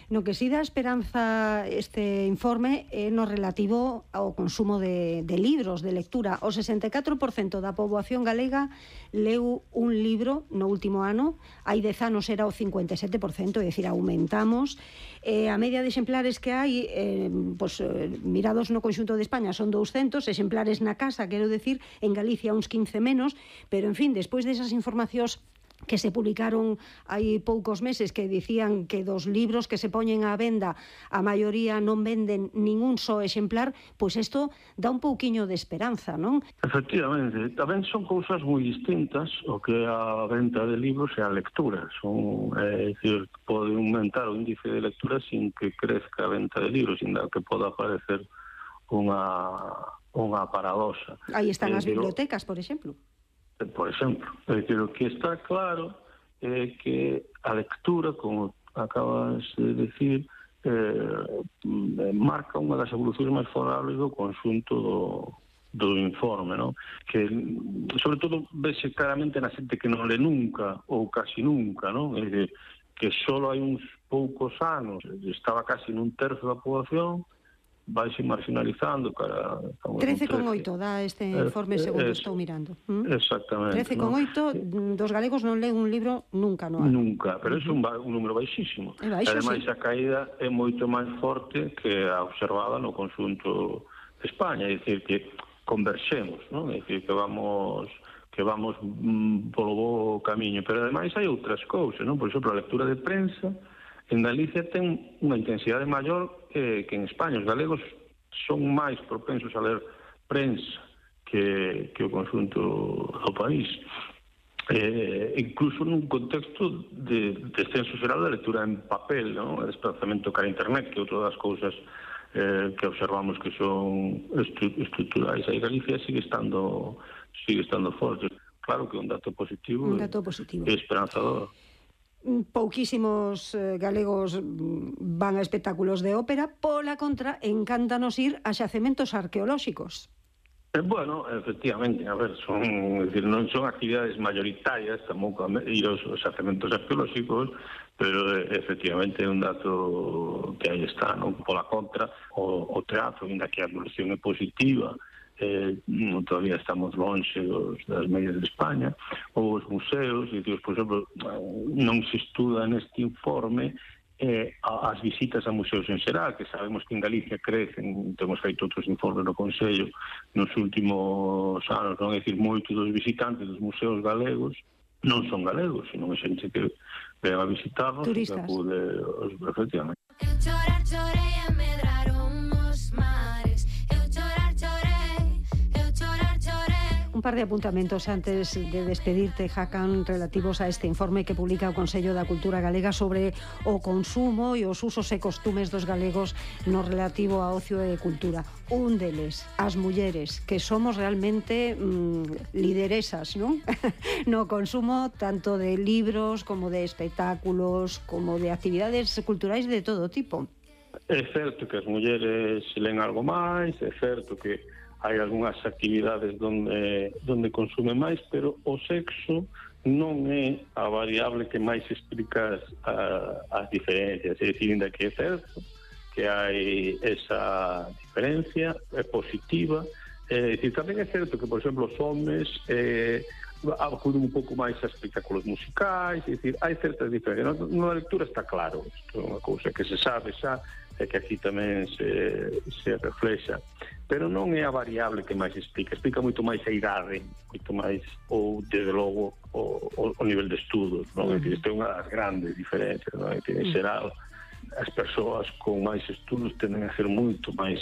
No que si dá esperanza este informe é no relativo ao consumo de libros, de lectura. O 64% da poboación galega leu un libro no último ano, hai 10 anos era o 57%, é dicir, aumentamos. A media de exemplares que hai, mirados no conxunto de España, son 200 exemplares na casa, quero decir, en Galicia uns 15 menos, pero, en fin, despois desas informacións que se publicaron hai poucos meses que dicían que dos libros que se poñen á venda a maioría non venden ningún só exemplar, pois isto dá un pouquiño de esperanza, non? Efectivamente, tamén son cousas moi distintas o que a venta de libros e a lectura. É dicir, pode aumentar o índice de lectura sin que crezca a venta de libros, sin que poda aparecer unha paradoxa. Aí están as bibliotecas, por exemplo. Por exemplo, é dicir, o que está claro é que a lectura, como acabas de decir, marca unha das evolucións máis favorables do conxunto do informe, non? Que, sobre todo, vese claramente na xente que non le nunca, ou casi nunca, non? É dicir, que só hai uns poucos anos estaba casi nun terzo da poboación, vaise marginalizando cara... 13,8 dá este informe segundo estou mirando. Exactamente. 13,8 dos galegos non leen un libro nunca no ano. Nunca, pero é un número baixísimo. Ademais, a caída é moito máis forte que a observada no conxunto de España, é dicir, que converxemos, non? É dicir, que vamos polo bo camiño, pero ademais hai outras cousas, non? Por exemplo, a lectura de prensa en Galicia ten unha intensidade maior que en España. Os galegos son máis propensos a ler prensa que o conxunto do país. Incluso nun contexto de descenso xeral da lectura en papel, non? O desplazamento cara a internet, que é outra das cousas que observamos que son estruturais. Aí Galicia sigue estando forte. Claro que é un dato positivo. E esperanzador. Pouquísimos galegos van a espectáculos de ópera, pola contra, encántanos ir a xacementos arqueolóxicos. Bueno, efectivamente, a ver, non son actividades mayoritarias, tampouco ir aos xacementos arqueolóxicos, pero efectivamente é un dato que aí está, non? Pola contra, o teatro, ainda que a evolución é positiva, todavía estamos longe das medias de España, ou os museos, por exemplo, non se estuda neste informe as visitas a museos en xeral, que sabemos que en Galicia crecen, temos feito outros informes no Consello nos últimos anos, non? É dicir, moitos dos visitantes dos museos galegos non son galegos, sino é xente que ven a visitarnos, turistas, que acude, efectivamente. Un par de apuntamentos antes de despedirte, Hakan, relativos a este informe que publica o Consello da Cultura Galega sobre o consumo e os usos e costumes dos galegos no relativo a ocio e cultura. Un deles, as mulleres, que somos realmente lideresas, non? No consumo tanto de libros como de espectáculos, como de actividades culturais de todo tipo. É certo que as mulleres len algo máis, é certo que hai algunhas actividades donde consume máis, pero o sexo non é a variable que máis explica as diferencias. É dicir, ainda que é certo que hai esa diferencia, é positiva. É dicir, tamén é certo que, por exemplo, os homes acuden un pouco máis a espectáculos musicais, é dicir, hai certas diferencias. Na lectura está claro, isto é unha cousa que se sabe xa, e que aquí tamén se reflexa, pero non é a variable que máis explica moito máis a idade, moito máis, ou, desde logo, o nivel de estudos, non? Isto é unha das grandes diferencias, non? En xeral, as persoas con máis estudos tenden a ser moito máis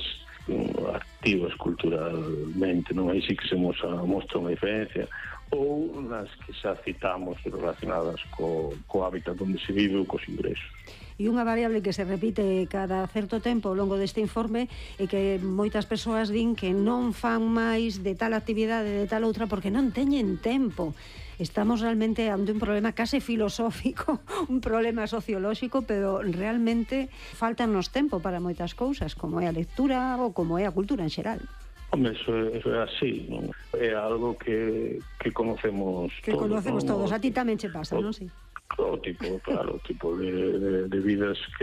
activas culturalmente, non? Aí sí que se mostra unha diferencia, ou nas que xa citamos relacionadas co hábitat onde se vive ou cos ingresos. E unha variable que se repite cada certo tempo ao longo deste informe é que moitas persoas din que non fan máis de tal actividade, de tal outra, porque non teñen tempo. Estamos realmente ante un problema case filosófico, un problema sociolóxico, pero realmente faltanos tempo para moitas cousas, como é a lectura ou como é a cultura en xeral. Hombre, eso é así, non? É algo que conocemos todos. Que conocemos todos, a ti tamén che pasa, non? Sí. O tipo de vidas